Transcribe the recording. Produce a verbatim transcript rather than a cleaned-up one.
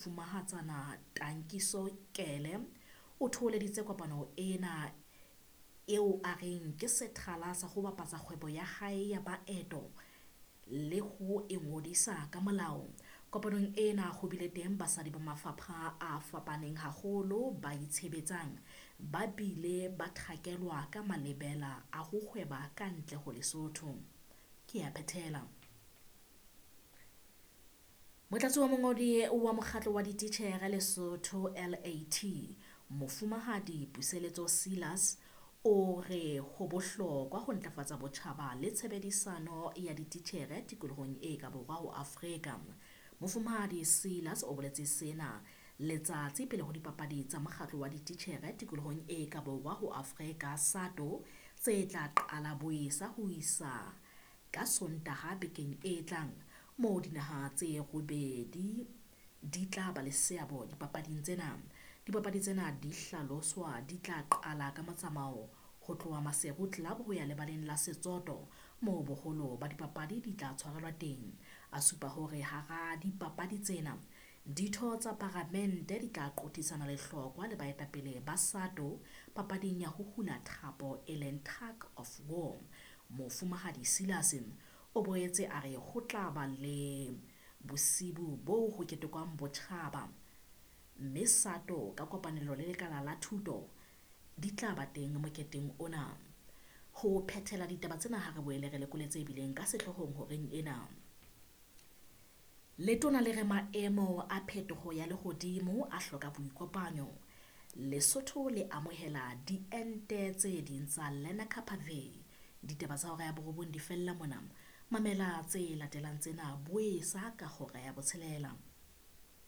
Mofumahatsana Tankiso Kele o thoholeditse kopano ena eo a reng ke sethala sa ho bapatsa kgwebo ya hae ya maeto le ho e ngodisa ka molao. Kopanong ena ho bile teng basadi ba mafapha a fapaneng haholo ba itshebetsang, ba bile ba thakelwa ka malebela a ho hweba ka ntle ho Lesotho. Ke a phethela. Motlatsi wa mongodi wa mokgatlo wa dititjhere Lesotho L A T, Mofumahadi Puseletso Selas o re ho bohlokwa ho ntlafatsa botjhaba le tshebedisano ya dititjhere tikolohong e ka borwa ho Afrika. Mofumahadi Selas o boletse sena letsatsi pele ho dipapadi tsa mokgatlo wa dititjhere tikolohong e ka borwa ho Afrika SATO tse tla qala boesa ho isa ka Sontaha bekeng e tlang, moo dinaha tse robedi di tla ba le seabo dipapading tsena. Dipapadi tsena di hlaloswa di tla qala ka motsamao ho tloha Maseru Club ho ya lebaleng la Setsoto moo boholo ba dipapadi di tla tshwarelwa teng. A supa hore hara dipapadi tsena ditho tsa paramente di tla qothisana lehlokwa le baetapele ba SATO papading ya ho hula thapo e leng tug of war. Mofumahadi Selas o boetse a re ho tla ba le bosibu boo ho ketekwang botjhaba, mme SATO ka kopanelo le lekala la thuto di tla ba teng moketeng ona. Ho phethela ditaba tsena ha re boele re lekole tse bileng ka sehloohong horeng ena. Letona le re maemo a phetoho ya lehodimo a hloka boikopanyo. Lesotho le amohela diente tse ding tsa Lenacapavir. Ditaba tsa hora ya borobong di fella mona. Mamela tse latelang tsena boesa ka hora ya botshelela.